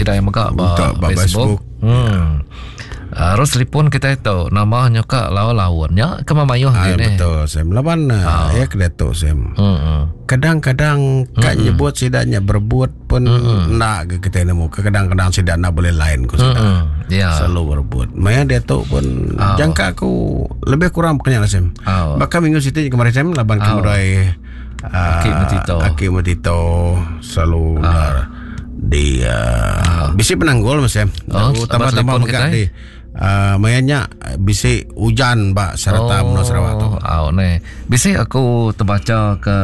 sida yang mega ba, ba Facebook. Facebook. Hmm. Harus telefon kita itu nama nyoka lawan-lawan nya ke mayuh ah, gini. Betul Sam. Laban oh. ya ke tu Sam. Hmm. Kadang-kadang kat hmm. nyebut sidaknya berebut pun hmm. nak ke kita nemu. Kadang-kadang sidak nak boleh lain ku sidak. Hmm. Ya. Selalu berebut. Maya dia tu pun oh. jangka aku lebih kurang pokoknya lah Sam. Oh. Bahkan minggu situ kemarin Sam laban oh. kemudian Aki Metito. Aki Metito selalu uh. di uh, bisi penanggul mas ya. Oh, tambah-tambah mega di uh, mayanya bisi hujan ba serata oh, menua Sarawak tu. Oh, ne. Bisi aku terbaca ke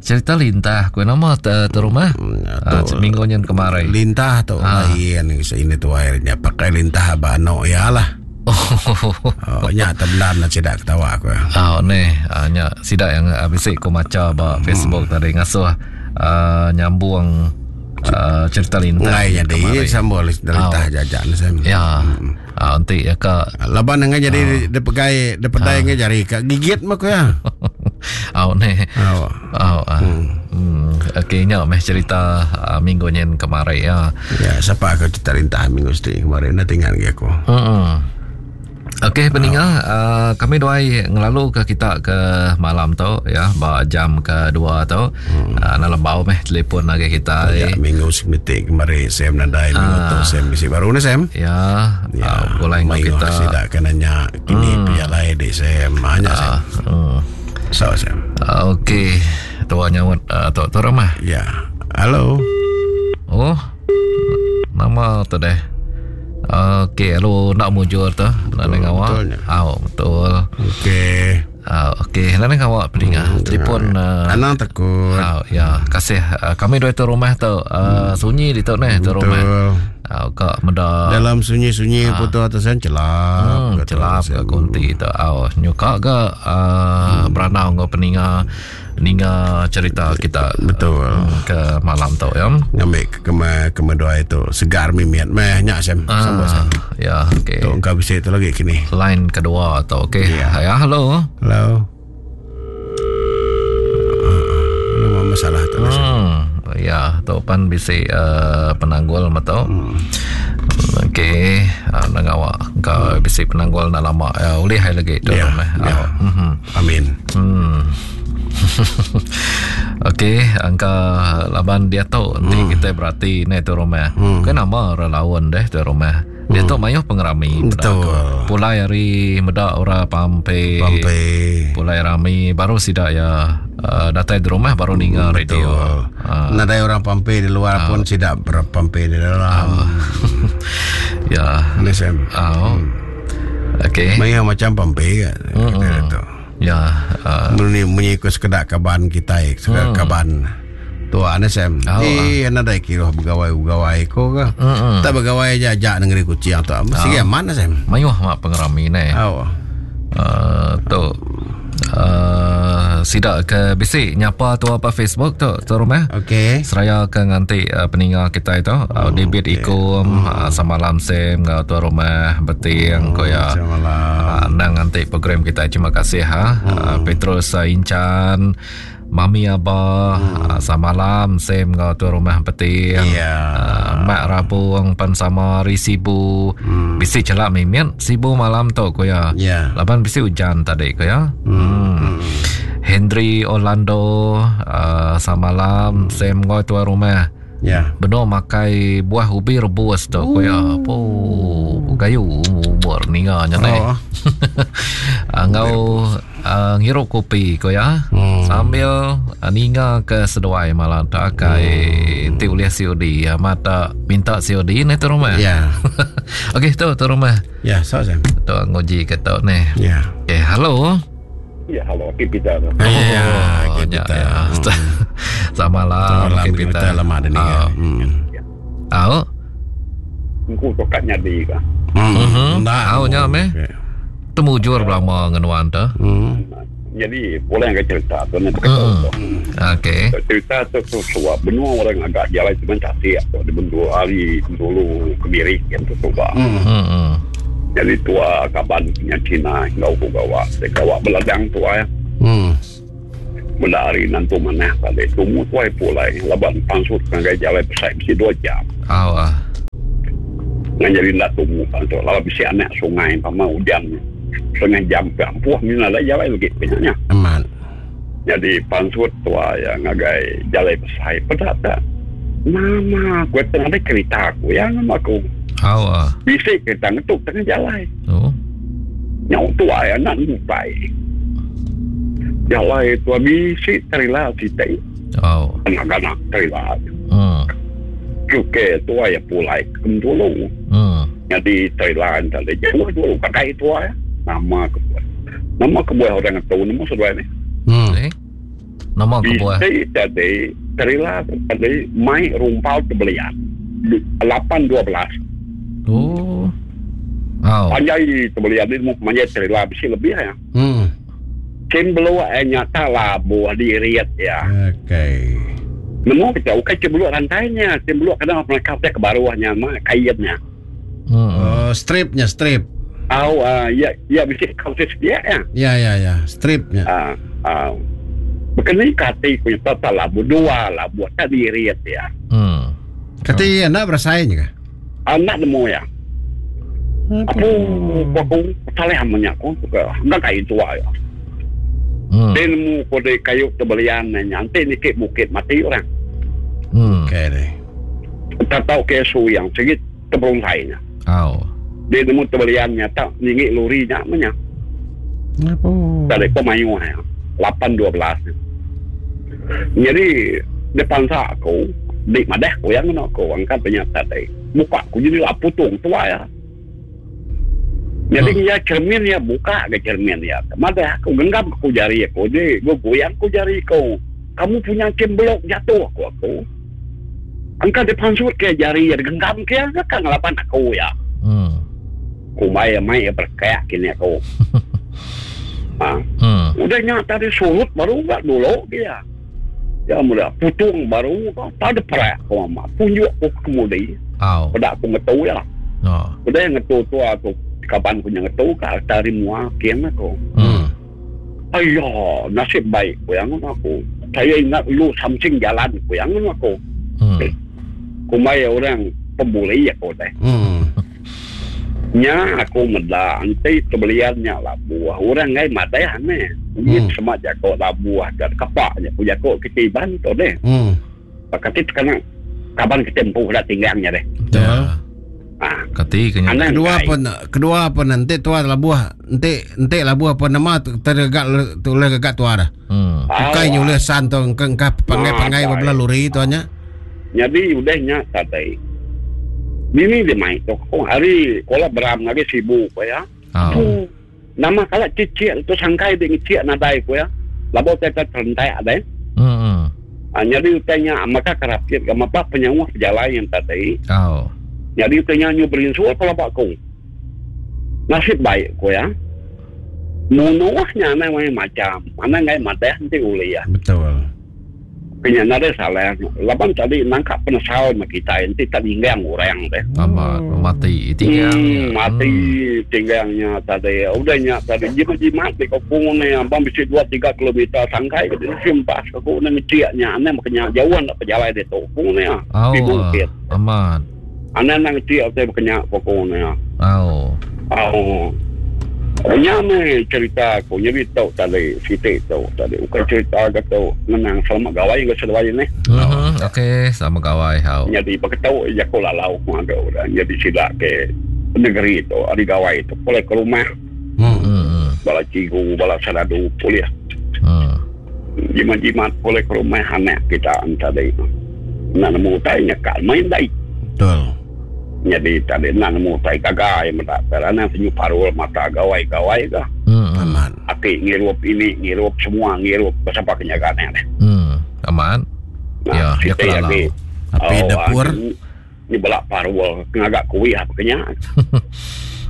cerita lintah ku nama te, te rumah hmm, uh, minggu nyen kemarin. Lintah tu ah. lain ini tu airnya pakai lintah ba ano ya lah. Oh, nya tebenar nak sidak ketawa aku. Oh, ni, uh, nya sidak yang uh, bisi ku maca ba hmm. Facebook tadi ngasuh uh, nyambung uh, cerita lintah. Ngai jadi sambung lintah oh. jajak ni saya. Ya. Hmm. Uh, nanti ya ka. Laban ngai jadi oh. dia pegai dia pedai ngai jari ka gigit mah ku ya. Oh ni. Oh. Oh. Uh. Hmm. Hmm. Okey nya meh cerita uh, minggu nyen kemari ya. Ya, siapa aku cerita lintah minggu seti kemarin nak tinggal lagi aku. Hmm. Okey peninga uh, kami duai ngelalu ke kita ke malam tu ya ba jam ke dua tu. Hmm. Uh, dalam bau meh telefon lagi kita. Ya, eh. minggu semiti kemarin Sam nadai minggu uh, tu Sam bisi baru ni Sam. Ya. Ya, uh, boleh kita. Sidak kena nanya kini hmm. pialai di Sam hanya Sam. Uh, hmm. So Sam. Uh, Okey. Tua nyaut uh, tu tu rumah. Ya. Halo. Oh. Nama tu deh. Okey, halo nak mujur tu. Nak dengar awak. Au, betul. Okey. Uh, okey, nak dengar awak peninga. Hmm, Telefon uh, Anang takut. Uh, ya, kasih uh, kami dua tu rumah tu uh, hmm. sunyi di tu neh tu rumah. Uh, kak meda dalam sunyi-sunyi uh, putu atasan celap. Hmm, celap ke kunti tu. Au, nyuka ke uh, hmm. beranau ngau peninga ninga cerita kita betul hmm, ke malam tu ya ngambil ke kema kema dua itu segar mimiat meh nyak sem ah, sambut sem ya okey tu engkau bisa itu lagi kini line kedua tu okey ya. ya halo halo uh, masalah tu hmm, ya tu pan bisi uh, penanggul metu hmm. Okey, uh, nang awak kau hmm. bisi penanggul nak lama ya ulih hai lagi tu ya, ya. Uh, mm-hmm. Amin. Hmm. Okey, angka laban dia tu nanti hmm. kita berarti ni tu rumah. Hmm. Kan nama orang lawan deh tu rumah. Dia tu mayuh pengerami. Betul. Pulai hari meda orang pampe. Pampe. Pulai rami baru sidak ya uh, datai di rumah baru ninga radio. Uh. Nadai orang pampe di luar uh. pun sidak berpampe di dalam. Uh. ya. Ini Sam. Uh. Hmm. Okey. Mayuh macam pampe kan. Hmm. Tu. Ya. Uh. Munyi munyi ku sekedak kaban kita, sekedak hmm. kaban. Tua ni Sam. Oh, eh, uh. nadai kira begawai-begawai ko ke. Hmm. Tak begawai aja ajak negeri kucing tu. Mesti oh. mana Sam? Mayuh mak pengerami ni. Oh. Uh, tu uh, sidak ke bisi nyapa tu apa Facebook tu tu rumah. Okey. Seraya ke nganti uh, peninga kita itu uh, debit okey. ikum uh, sama lam Sam ngau tu rumah beting ko ya. Samalam. Uh, nang nganti program kita. Terima kasih ha. Uh, Petrus uh, Incan Mami Abah hmm. uh, samalam Sam ngau tu rumah beting. Ya. Uh, Mak Rabung pan sama Ri Sibu. Hmm. Bisi celak mimian Sibu malam tu ko ya. Ya. Laban bisi hujan tadi ko ya. Hmm. Hmm. Henry Orlando uh, samalam hmm. Sam ngau tuan rumah. Ya. Benar makai buah ubi rebus tu ko ya. Po gayu umur ninga nya nei. Oh. Ngau uh, ngirup kopi ko ya. Hmm. Sambil uh, ninga ke seduai malam tak akai hmm. ti ulih COD ya mata minta COD ni tu rumah. Ya. Okey tu tu rumah. Ya, so Sam. Tu nguji ke tu ni. Ya. Okey, halo. Ya, halo, Aki Peter. Ya, Oh, Aki ya, Peter. ya. Selamat malam, Malam Aki kita Peter. lama ada ni. Ah. Hmm. Au. Engkau tokat nyadi ka. Hmm. Mhm. Ndak. Au nya meh. Okey. Temujur belama ngenuan tu. Hmm. Jadi, boleh yang cerita tu ni Hmm. berkata tu. Okey. Cerita tu tu suap benua orang agak jalan tu mencari tu di benua hari dulu kemiri yang tu suap. Hmm. Hmm. Jadi tua kaban punya Cina ngau ku gawa. Saya gawa beladang tua ya. Hmm. Benda hari nanti mana tadi tumu tua pulai laban pansut kan jalan pesai mesti dua jam. Au ah. Ngan jadi enda tumu tu lalu bisi anak sungai pama ujan setengah jam ke ampuh mina alai jalai legi ke nya. Amat. Nyadi pansut tua iya ngagai jalai besai peda ta nama ku tang nadai kerita ku iya nama aku. Au ah. Bisi kerita ngetu tengah jalai. Oh. Nyau tua iya enda nemu utai. Jalai tua bisi terila siti. Au. Anak ganak terila. Hmm. Cuke tua iya pulai ke Bintulu. Hmm. Nyadi terila enta deh jauh dulu kadai tua iya. Nama kebuah. Nama kebuah orang ngetu nemu seduai ni. Hmm. Eh. Nama kebuah? Bisi tadi terila tadi mai rumpau tebelian. 8 12. Oh. Au. Panjai tebelian ni nemu panjai terila bisi lebih ya. Cembeluk eh nyata labuh dirit ya. Okey. Nemu kita ukai cembeluk rantainya, cembeluk kadang mereka ke baruhnya mah kainnya. Oh, stripnya strip. Au ya ya bisi kau sedia ya. Ya ya ya, stripnya. Ah ah. Bekeni kati ku tak labuh dua labuh tak dirit ya. Kati anda berasai ke? Anak nemu ya. Aku aku salah amanya aku ke enggak kayu tua ya. Dia nemu ko di kayu tebelian nanti nikik bukit mati orang. Okey deh. Tak tahu ke su yang segi teberungkainya. Au. Dia nemu tebeliannya tak ningik lori nya menya. Apa? Tak ada pemayu ya. 8 12. Jadi depan sa aku di madah aku yang aku angkat banyak tadi. Muka aku jadi lah putung tua ya. Jadi ya cermin ya buka ke cermin ya. Madah aku genggam aku jari aku. Jadi gua goyang aku jari aku. Kamu punya cemblok jatuh aku aku. Angkat depan sut ke jari ya genggam ke kan ngelaban aku ya. Kumai mai berkayak kini aku. Ha. Udah nya tadi surut baru enggak dulu dia. Ya mula putung baru tak ada perak aku mama. Tunjuk aku kemudi. Au. Pada aku ngetu ya. Oh. Udah yang ngetu tu aku kaban punya ngetu ke tari mua kian aku. Ayah, nasib baik ku yang aku. Saya ingat lu something jalan ku yang aku. Kumai orang pembuli aku deh. Nya aku meda anti tebeliannya lah buah orang ngai madai ane. Ini semak jako lah buah dan kapaknya ku jako kita iban tu deh. Pakati kena kaban kita empu dah tinggangnya deh. Ya. Ah. Kati kena. Anang Kedua kai. pun kedua pun nanti tua lah buah nanti nanti lah buah pun nama tergagak tu boleh gagak tua dah. Bukai nyulih san tu engkau pangai-pangai belah luri tuanya. Jadi udahnya tadi. Ini dia main tu. Oh, hari kola beram lagi sibuk ya. Oh. Tu nama kalau cicik tu sangkai dia ngecik nadai ku ya. Labo teta terentai ada. Ah, jadi utanya maka kerapit ke apa penyawah jalan yang tadi. Oh. Jadi utanya nyu berinsul kalau pak ku. Nasib baik ku ya. Munuhnya ana macam, ana ngai madah nanti uli ya. Betul. Kenya nada salah. Laban tadi nangkap penesal sama kita nanti tak tinggang orang deh. Amat mati tinggang. Mati tinggangnya tadi. Udahnya tadi jimat-jimat di kampung ni abang bisa 2-3 kilometer sangkai ke simpas aku ni ngeciaknya ane makanya jauh nak berjalan di kampung ni. Oh, Di bukit. Amat. Ane nak ngeciak saya berkenyak kampung ni. Oh. Oh. Nya ni cerita aku jadi tahu tadi sitik tahu tadi bukan cerita kata menang selamat gawai ke seduai ni. Okey, selamat gawai hau. Jadi berketau ya aku lalau aku ada orang jadi sila ke negeri tu hari gawai tu boleh ke rumah. Bala cigu, bala saradu boleh. Jimat-jimat boleh ke rumah anak kita tadi. Nak nemu tai nyekal main dai. Betul. Jadi tadi nak nemu tai gagai mendak kerana senyum parul mata gawai-gawai ke. Aman. Aki ngirup ini, ngirup semua, ngirup bersama kenyagaannya deh. Aman. Nah, ya, ya kita kelalau. lagi. Api Oh, dapur. Ni belak parul ngagak kuih apa kenya.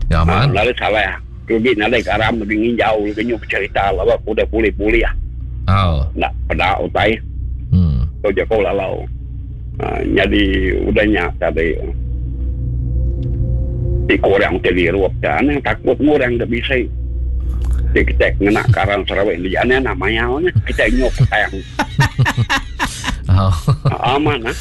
Ya aman. Nah, lalu salah. Rugi nalai garam lebih nginjau, lebih nyup cerita lah, aku udah pulih-pulih ya. Oh. Nak pada utai. Kau jago lalau. Jadi udahnya tadi. Di korang terlirup dan yang takut ngurang tak bisa. Di kita kena karang Sarawak ni aneh nak mayau ni kita nyok tayang. Oh. Aman ah.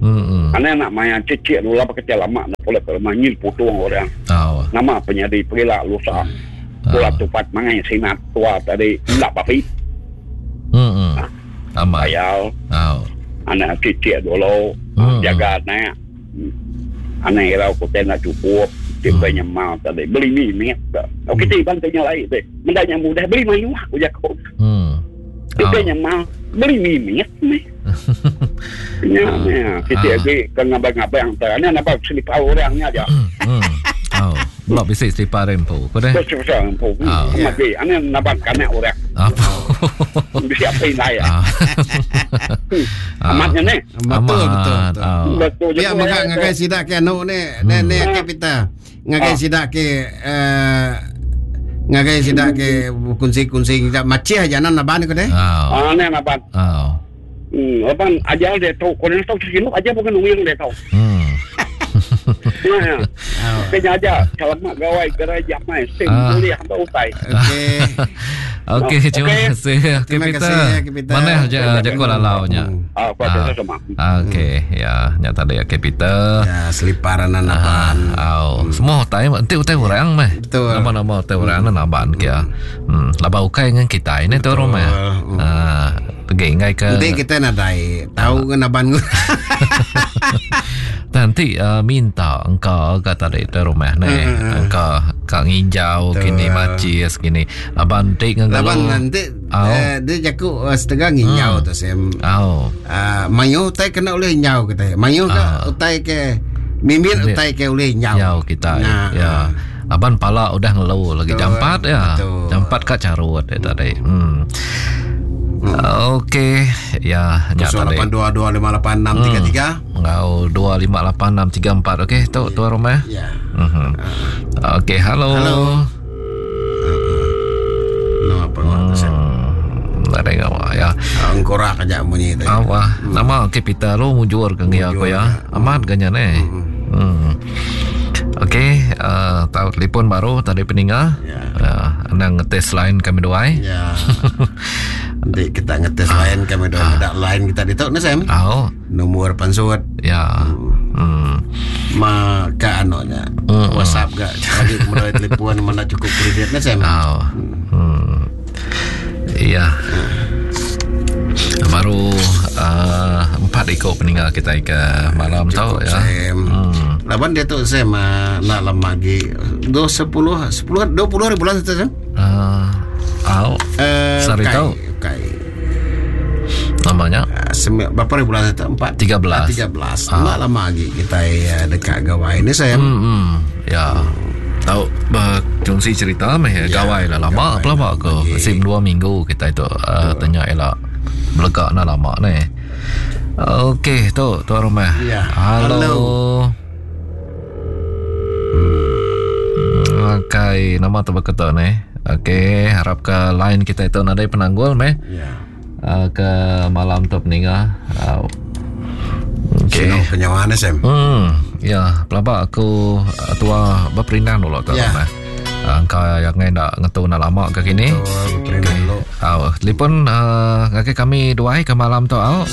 Hmm. Anak nak maya cicik dulu apa kecil lama nak pulak ke rumah nyin putung orang. Oh. Nama penyadi perila lusa. Pula tupat mangai sinat tua tadi ndak bapi. Hmm. Amat. Ayal. Oh. Anak cicik dulu jaga anak. Anak irau kota nak cukup. Tiba nyemal tadi beli mi mi. Oh kita iban tanya lain deh. Mendanya mudah beli mayu aku jago. Kita nyemal beli mi mi ni. Ya, ya. Kita lagi ke ngabang-ngabang tu. Ini nampak selipar orangnya aja. Oh, belum bisa selipar rempu. Kau dah? Besar besar rempu. Mati. Ini nampak kanak orang. Apa? Bisa apa ini ya? Amatnya ni. Betul betul. Betul. Ya, maka ngagai sidak ke anu ni, ni ni ke kita. Ngagai sidak ke ngagai sidak ke kunci-kunci kita macih aja nan naban ko deh. Ah, ni naban. Ah. Laban aja dia tahu, kau ni tahu sini aja bukan uang dia tahu. Ya. Kena aja kalau mak gawai gerai jamai sim boleh hamba utai. Okey. Okey, terima kasih. Terima kasih Peter. Mana aja jago lalaunya. Ah, pada sama. Okey, ya, nyata dia ke Peter. Ya, seliparan naban. Au, semua utai enti utai orang meh. Nama-nama utai orang naban kia. Laba ukai dengan kita ini tu rumah. Ah, pergi ngai ke. Nanti kita nadai tahu ke naban. Nanti minta engkau kata dari tu rumah ni. Engkau kak nginjau kini macis kini. Laban ti ngelo. Laban nanti dia jaku setengah nginjau tu sem. Au. Mayu utai kena oleh nginjau kita. Mayu ke utai ke mimin utai ke oleh nginjau. Nginjau kita. Ya. Laban pala udah ngelu lagi jampat ya. Jampat kak carut dia tadi. Okey, ya nyata tadi. 0822586633 enggau 258634. Okey, tu tuan rumah. Ya. Okey, halo. Halo. No apa Ada ngapa ya. Angkorak aja bunyi tu. Awah, nama okey Peter lu mujur ke ngia aku ya. Amat ganya ni. Okey, tahu telefon baru tadi peninga. Ya. Anang ngetes line kami duai. Ya. Nanti kita ngetes line kami duai. Ada line kita ditok ni Sam. Oh. Nombor pansut. Ya. Ma ka anonya. WhatsApp ga lagi kemudian telefon mana cukup kredit ni Sam. Oh. Ya. Baru 4 ekor peninggal kita ke malam tau ya. Laban dia tu Sam nak lama lagi 10 10 20 hari bulan tu Sam. Au. Sari tau. Kai. Namanya berapa hari bulan itu? 4 13. 13. Nak lama lagi kita dekat gawai ni Sam. Ya. Tahu berkongsi cerita meh ya, gawai lah lama apa lama ke? Sim 2 minggu kita itu tanya elak belegak nak lama ni. Okey, tu tuan rumah. Ya. Halo. Okey, nama tu berkata ni. Okey, harap ke line kita itu nadai penanggul meh. Ya. Ke malam tu peninga. Okey. Sino penyawaan Sam. Ya, pelabak aku tua berperindang dulu tu ya. Rumah. Engkau yang nak ngetu nak lama ke kini. Betul, berperindang dulu. Au, telefon ngake kami duai ke malam tu au.